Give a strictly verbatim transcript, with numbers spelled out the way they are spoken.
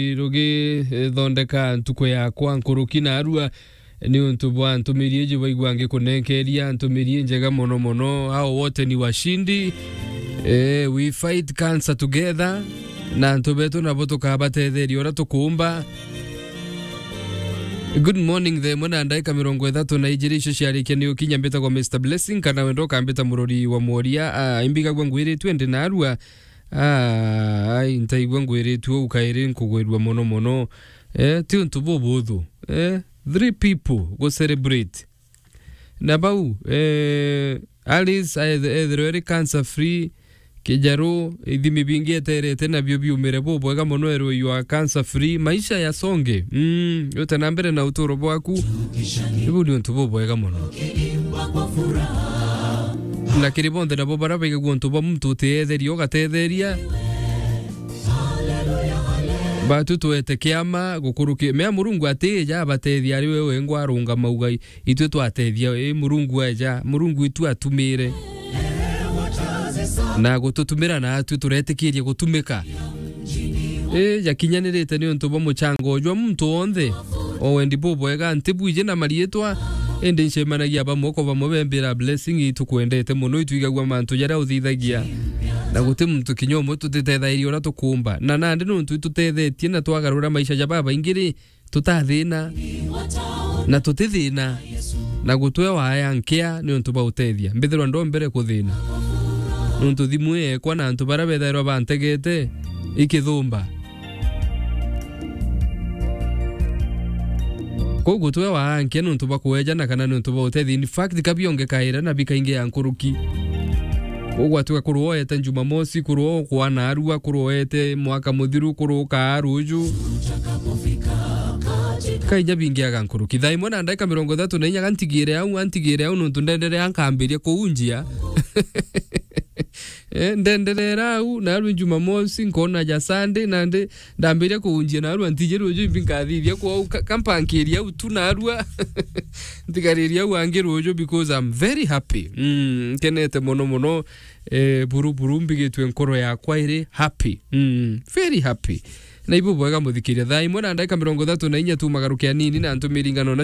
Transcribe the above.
Rugi, eh, thondeka ntuku yakwa nkuruki narua, ni untu bwa ntumiri iji baigua ngikunenkeria ntumiri njega mono mono. Hao wote ni washindi. Eh, we fight cancer together. Na antu betu nabo tukabatetheria uria tukumba. Good morning, thaa imwe na ndaika mirongo ithatu na ijiri icio ciarikia ni ukinya. Mbitagwa Mister Blessing, kana wenda ukambita murori wa mworia. Ah, imbigagua ngwiritue ndi narua. Ah, ai, ntaigua ngwiritue uu kairi nkugwirua mono mono. Eh, ti untu bubuthu. Eh, three people go celebrate. Na bau, eh, Alice aeth-, ethirwe eri cancer free, Kijaru, ithimi bingi eterete nabio biumire bubwega mono, erwe you are cancer free, maisha yasonge. Mm, ute na mbere na uturo bwaku. Ibu ni untu bubwega mono. Na kiri bonthe nabo bara baigagua untu bwa muntu uteetheria, ugatetheria. Batu twete kiama gukuruki-, mea Murungu atija abatethia ari we wengwa arungama ugai. Itwe twatethia, ii, Murungu eja, Murungu itu atumire. Na gututumira na atwi turetikiria gutumika. Ii, jakinyanirite ni untu bwa muchango jwa muntu wonthe. O wendi bubwega, nti bwiji na mariitwa, indi ncemanagia bamwe kwa bamwe bembira blessing, itukwendete mono, itwigagua mantu jaria uthithagia. Na guti muntu kinya umwe tutitethairie uria tukumba. Na nandi nuntu itutethetie na twagarura maisha ja babaingi ri, tutathina na tutithina, na gutwe waya nkia ni untu bwa utethia. Mbithirwa ndombere kuthina. Nuntu thimu ii yekwa na antu baria bethairwa bantegete ikithumba. Kou gutwe waya nkia ni untu bwa kuejana kana ni untu bwa utethia. In fact, ka bionge kaira na bikaingi ya nkuruki. Kou gwatuika kurwa oete Jumamosi, kurwa okwa narua, kurwa oete mwaka muthiru, kurwa ukaa ruju. Kaija bingiaga nkuruki. Thaa imwe na ndaika mirongo ithatu na inya, gantigire au, antigire au, nuntu ndenderea nkambiria kuunjia. Eh, ndenderera au, narua Jumamosi, nkona ja Sunday, nandi ndambiria kuunjia narua, ntiji ruju imbi nkathithia kwou, ka-, kampankiria au tu narua. Ntigariria au angi ruju because I'm very happy. Mm, nkenete mono mono. Eh, buru buru mbigitue nkoro yakwa iri happy. Mm, very happy. Na ibu bwega muthikiria. Thaa imwe na ndaika mirongo ithatu na inya tu magarukia nini na ntumiri ngano na